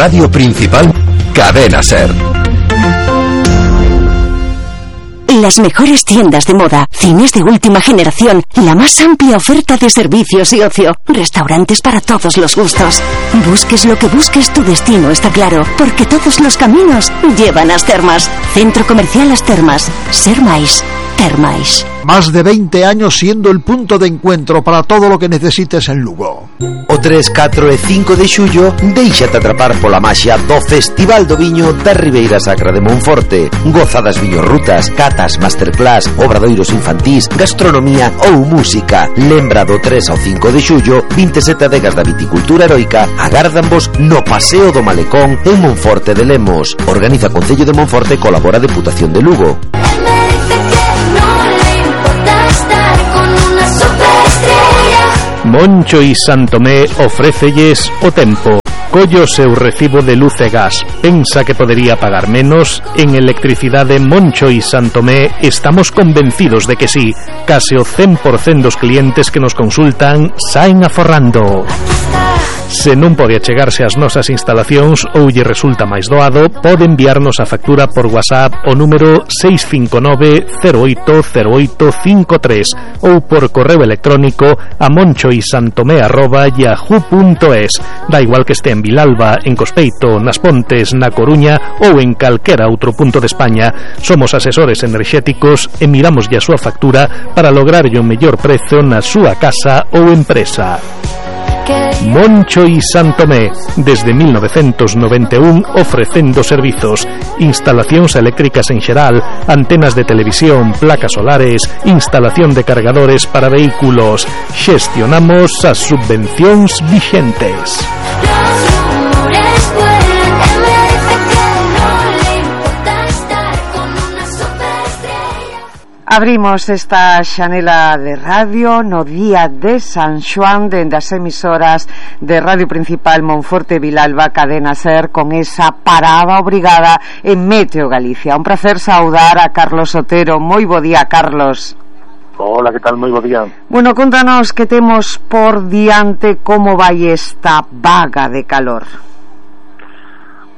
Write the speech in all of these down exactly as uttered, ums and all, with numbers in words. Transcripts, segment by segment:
Radio Principal, Cadena SER. Las mejores tiendas de moda, cines de última generación, la más amplia oferta de servicios y ocio, restaurantes para todos los gustos. Busques lo que busques, tu destino está claro, porque todos los caminos llevan a As Termas. Centro Comercial As Termas. Ser máis, ter máis. Más de veinte años siendo el punto de encuentro para todo lo que necesites en Lugo. O tres, catro e cinco de xullo, déixate atrapar pola maxia do Festival do Viño da Ribeira Sacra de Monforte. Goza das viñorrutas, catas, masterclass, obradoiros infantís, gastronomía ou música. Lembra do tres ao cinco de xullo, vinte e sete adegas da viticultura heroica agárdanvos no Paseo do Malecón en Monforte de Lemos. Organiza Concello de Monforte e colabora a Deputación de Lugo. Moncho y Santomé ofrécelles o tempo. Collo seu recibo de luz e gas. Pensa que podería pagar menos? En Electricidade Moncho y Santomé estamos convencidos de que sí. Case o cen por cento dos clientes que nos consultan saen aforrando. Se non pode achegarse ás nosas instalacións ou lle resulta máis doado, pode enviarnos a factura por WhatsApp o número seis cinco nove cero oito cero oito cinco tres ou por correo electrónico a monchoisantomé arroba yahoo punto es. Da igual que este en Vilalba, en Cospeito, nas Pontes, na Coruña ou en calquera outro punto de España. Somos asesores enerxéticos e miramos a súa factura para lograrlle o mellor prezo na súa casa ou empresa. Moncho y Santomé, desde mil novecientos noventa e un ofrecendo servizos, instalacións eléctricas en xeral, antenas de televisión, placas solares, instalación de cargadores para vehículos. Xestionamos as subvencións vixentes. Abrimos esta xanela de radio no día de San Xoán dende as emisoras de Radio Principal Monforte Vilalba Cadena SER con esa parada obrigada en Meteo Galicia. Un placer saudar a Carlos Otero. Moi bo día, Carlos. Hola, que tal? Moi bo día. Bueno, contanos que temos por diante, como vai esta vaga de calor.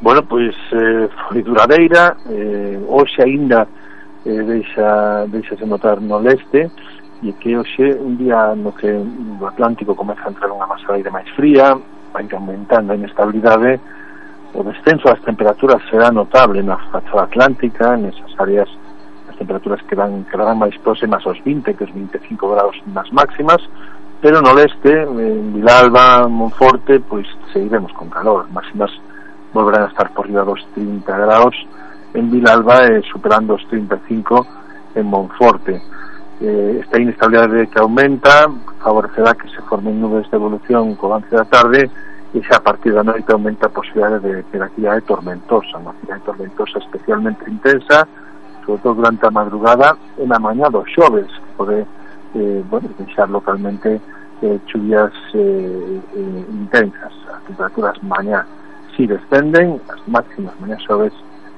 Bueno, pois eh, foi duradeira, eh, hoxe aínda Eh, deixa, deixase notar no leste, e que hoxe un día no que o Atlántico comeza a entrar unha masa de aire máis fría, vai aumentando a inestabilidade, o descenso das temperaturas será notable na fachada atlántica, nesas áreas as temperaturas quedan, quedarán máis próximas aos vinte que os vinte e cinco graus nas máximas, pero no leste, en Vilalba, Monforte, pois seguiremos con calor, máximas volverán a estar por riba dos trinta graus en Vilalba, eh, superando os trinta e cinco en Monforte. Eh, esta inestabilidade que aumenta favorecerá que se formen nubes de evolución co avance da tarde, e xa a partir da noite aumenta a posibilidade de ter actividade tormentosa, unha actividade tormentosa especialmente intensa, sobre todo durante a madrugada e na mañá do xoves, que pode eh, bueno, deixar localmente eh, chuvias eh, eh, intensas. As temperaturas mañá si descenden, as máximas mañá xoves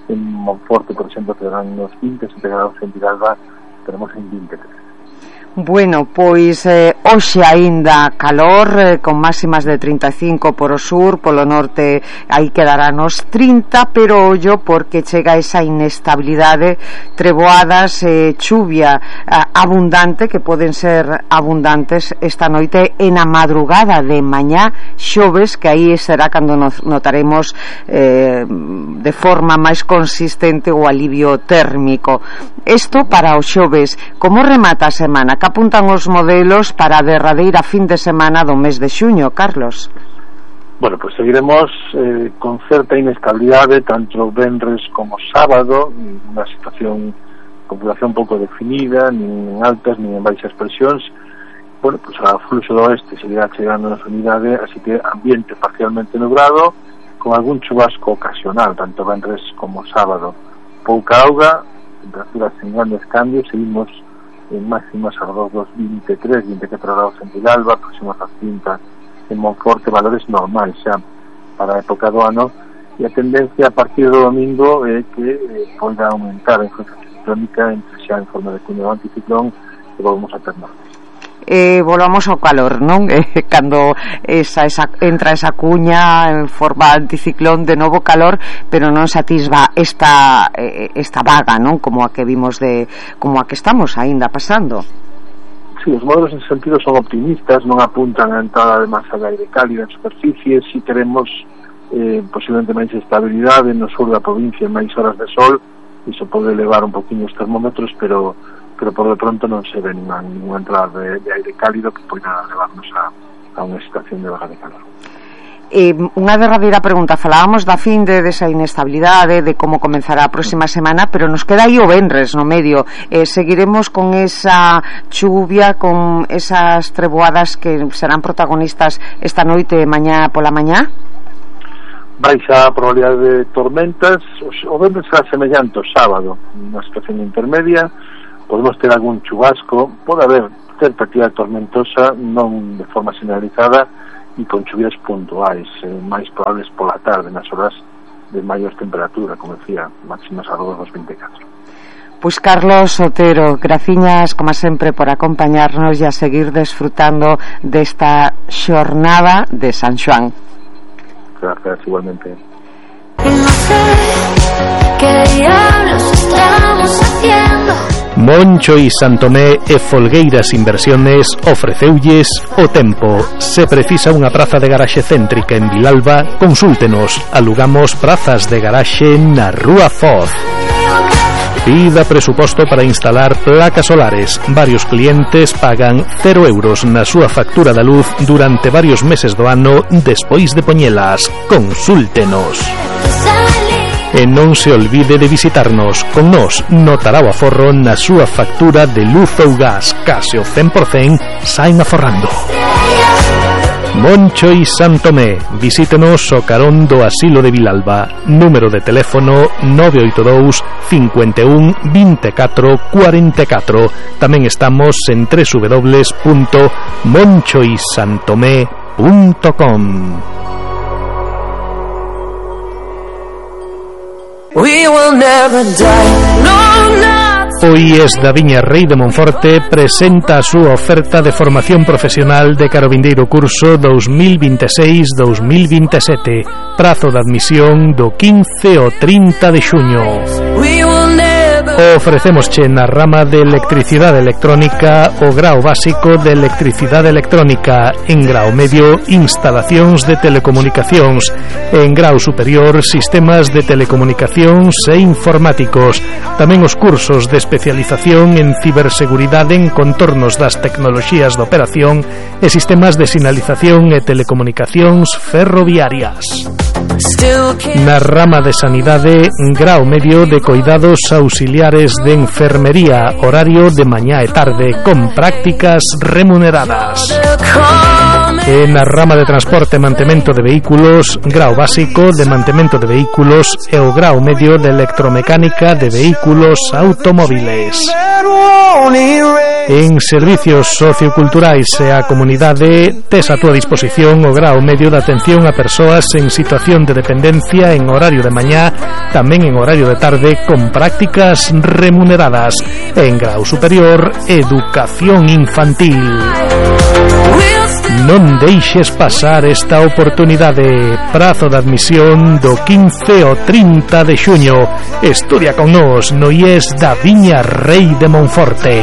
en Monforte, por exemplo, terán unos vinte e sete graus, en Vilalba tenemos en vinte e tres. Bueno, pois eh, hoxe aínda calor, eh, con máximas de trinta e cinco por o sur, polo norte aí quedará nos trinta, pero ollo porque chega esa inestabilidade, treboadas, eh, chuvia eh, abundante, que poden ser abundantes esta noite e na madrugada de mañá xoves, que aí será cando nos notaremos eh, de forma máis consistente o alivio térmico. Isto para os xoves. Como remata a semana? Que apuntan os modelos para a derradeira fin de semana do mes de xuño, Carlos? Bueno, pues seguiremos eh, con certa inestabilidade tanto venres como sábado, unha situación con población pouco definida, nin en altas nin en baixas presións. Bueno, pues a fluxo do oeste seguirá chegando na unidade, así que ambiente parcialmente nublado con algún chubasco ocasional, tanto venres como sábado. Pouca auga, temperaturas en grandes cambios, seguimos en máximas alrededor dos vinte e tres, vinte e catro graus en Vilalba, próximos a trinta en Monforte, valores normais xa para a época do ano, e a tendencia a partir do domingo é que eh, poida aumentar a influencia ciclónica entre xa en forma de cunho anticiclón, que volvemos a ter norte. eh, volvamos ao calor, non? Eh, cando esa, esa, entra esa cuña en forma anticiclón, de novo calor, pero non se atisba esta, eh, esta vaga, non? Como a que vimos de, como a que estamos aínda pasando. Sí, os modelos en ese sentido son optimistas, non apuntan a entrada de masa de aire cálida en superficie. Si queremos eh, posiblemente máis estabilidade no sur da provincia, máis horas de sol, iso pode elevar un poquinho os termómetros, pero pero por de pronto non se ve ninguna, ninguna entrada de, de aire cálido que poida levarnos a, a unha situación de vaga de calor. Eh, unha derradeira pregunta, falábamos da fin de desa inestabilidade, de como comenzará a próxima semana, pero nos queda aí o venres no medio. Eh, seguiremos con esa chuvia, con esas treboadas que serán protagonistas esta noite e mañá pola mañá? Baixa a probabilidade de tormentas. O venres será semellante ao sábado, unha situación intermedia. Podemos ter algún chubasco, pode haber certa actividade tormentosa, non de forma generalizada, e con chuvias puntuais, eh, máis probables pola tarde, nas horas de maior temperatura, como decía, máximas alrededor dos vinte e catro. Pois Carlos Otero, graciñas como sempre por acompañarnos e a seguir desfrutando desta xornada de San Xoán. Gracias, igualmente. No sé qué diablos estamos haciendo. Moncho y Santomé e Folgueiras Inversiones ofreceulles o tempo. Se precisa unha praza de garaxe céntrica en Vilalba, consúltenos. Alugamos prazas de garaxe na Rúa Foz. Pida presuposto para instalar placas solares. Varios clientes pagan cero euros na súa factura da luz durante varios meses do ano despois de poñelas. Consúltenos. E non se olvide de visitarnos. Con nos notará o aforro na súa factura de luz ou gas. Case o cen por cen saen aforrando. Moncho y Santomé. Visítenos o carón do Asilo de Vilalba. Número de teléfono nove oito dous, cinco un, vinte e catro, cuarenta e catro. Tamén estamos en doble u doble u doble u punto moncho y santomé punto com. We will never die. No, no. O I E S da Viña Rei de Monforte presenta a súa oferta de formación profesional de cara ao vindeiro curso dos mil vinte e seis dos mil vinte e sete. Prazo de admisión do quince ao trinta de xuño. We will never. Ofrecémosche na rama de electricidade electrónica o grao básico de electricidade electrónica, en grao medio instalacións de telecomunicacións, en grao superior sistemas de telecomunicacións e informáticos. Tamén os cursos de especialización en ciberseguridade en contornos das tecnoloxías de operación e sistemas de sinalización e telecomunicacións ferroviarias. Na rama de sanidade, grao medio de coidados auxiliares de enfermería, horario de mañá e tarde, con prácticas remuneradas. E na rama de transporte e mantemento de vehículos, grao básico de mantemento de vehículos e o grao medio de electromecánica de vehículos automóviles. En servicios socioculturais e a comunidade, tes a túa disposición o grao medio de atención a persoas en situación de dependencia en horario de mañá, tamén en horario de tarde, con prácticas remuneradas. En grao superior, educación infantil. Non deixes pasar esta oportunidade. Prazo de admisión do quince ao trinta de xuño. Estudia con nos no I E S da Viña Rei de Monforte.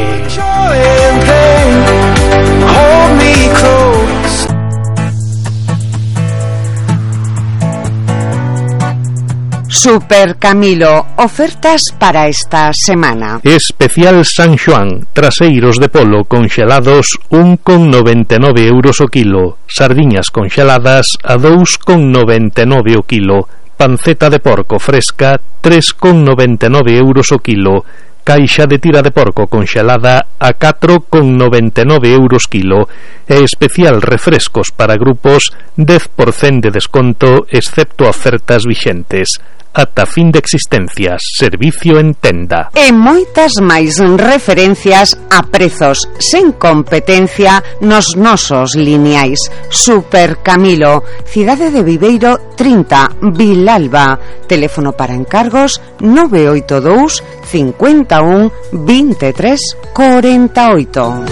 Super Camilo, ofertas para esta semana. Especial San Xoán, traseiros de polo conxelados un con noventa e nove euros o kilo, sardiñas conxeladas a dous con noventa e nove o kilo, panceta de porco fresca tres con noventa e nove euros o kilo, caixa de tira de porco conxelada a catro con noventa e nove euros kilo e especial refrescos para grupos dez por cento de desconto excepto ofertas vixentes. Ata fin de existencias, servicio en tenda. E moitas máis referencias a prezos sen competencia nos nosos lineais. Super Camilo, Cidade de Viveiro trinta, Vilalba. Teléfono para encargos nove oito dous, cincuenta e un, veintitrés, cuarenta y ocho.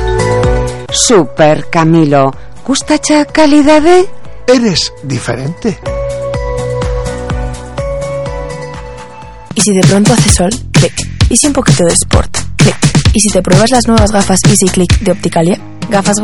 Super, Camilo. Gustacha calidade? Eres diferente. ¿Y si de pronto hace sol? Clic. ¿Y si un poquito de sport? Clic. ¿Y si te pruebas las nuevas gafas Easy Click de Opticalia? Gafas